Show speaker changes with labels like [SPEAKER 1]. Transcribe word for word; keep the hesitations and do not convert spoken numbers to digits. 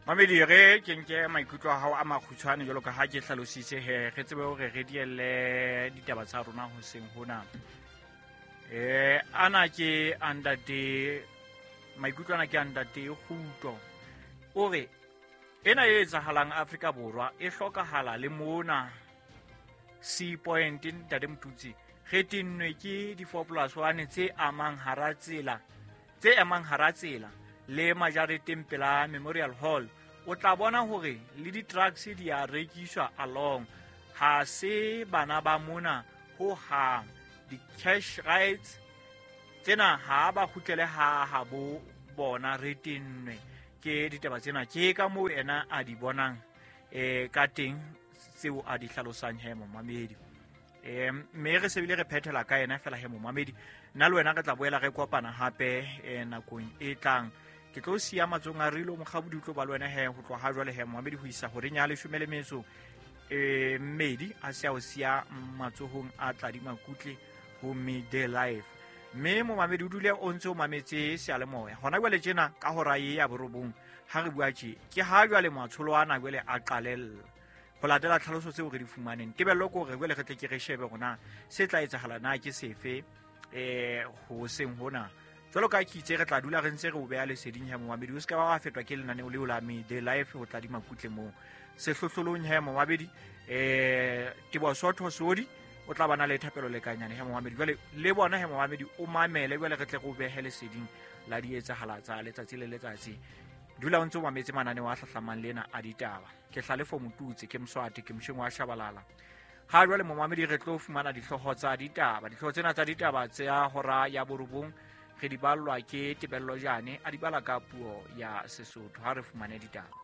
[SPEAKER 1] Mamedi re ke nke maikutlo a hao a makgutshwane jwalo ka ha ke hlalositse he re tsebe hore re dielle ditaba tsa rona hoseng hona. Eh ana ke andate maikutlo ana ke andate Kguto. O re ena e etsahalang Afrika Borwa e hlokahala le mona C point ntate Motutsi re tennwe ke di four plus one tse amang hara tsela tse amang hara tsela le majareteng pela Memorial Hall. O tla bona hore le di-trucks di a rekiswa along, ha se bana ba mona ho hang. Di-cash rights tsena ha ba kgutlele ha habo bona, re tennwe ke ditaba tsena. Ke ka moo ena a di bonang eh ka teng tseo a di hlalosang he momamedi. Eh mme re sebile re phethela ka ena fela he momamedi, nna le wena re tla boela re kopana hape eh nakong e tlang. Ke tlo siya matsong a Rilo Mokgabudi, o tlo ba le wena he ho tloha ha jwale he momamedi ho isa horeng ya leshome le metso eh mmedi, a se a o siya matsohong a Tladi Makutle ho Midday Life. Mme momamedi o dule o ntse o mametse seyalemoya hona jwale tjena ka hora e ya borobong ha re bua tje ke ha jwale matsholo ana jwale a qalella ho latela tlhaloso tseo re di fumaneng. Tebello ke hore jwale re tle ke re shebe hore se tla etsahala na ke sefe eh ho seng hona. Jwalo ka ke itse re tla dula re ntse re o beha leseding he momamedi, o se ka ba wa fetwa ke lenaneo leo la Midday Life ho Tladi Makutle moo sehlohlolong he momamedi. Eh Teboho Sotho Sodi o tla bana le thapelo lekanyane he momamedi. Jwale le bona he momamedi o mamele jwale re tle re o behe leseding la di etsahala tsa letsatsi le letsatsi. Dula o ntse o mametse mananeo a hlahlamang lena a ditaba. Ke Hlalefo Motutsi, ke Mswati, ke Msheng wa Shabalala. Ha jwale momamedi re tlo fumana dihlooho tsa ditaba. Dihlooho tsena tsa ditaba tsa hora ya borobong re di ballwa ke Tebello Jane, a di bala ka puo ya Sesotho. Ha re fumane ditaba.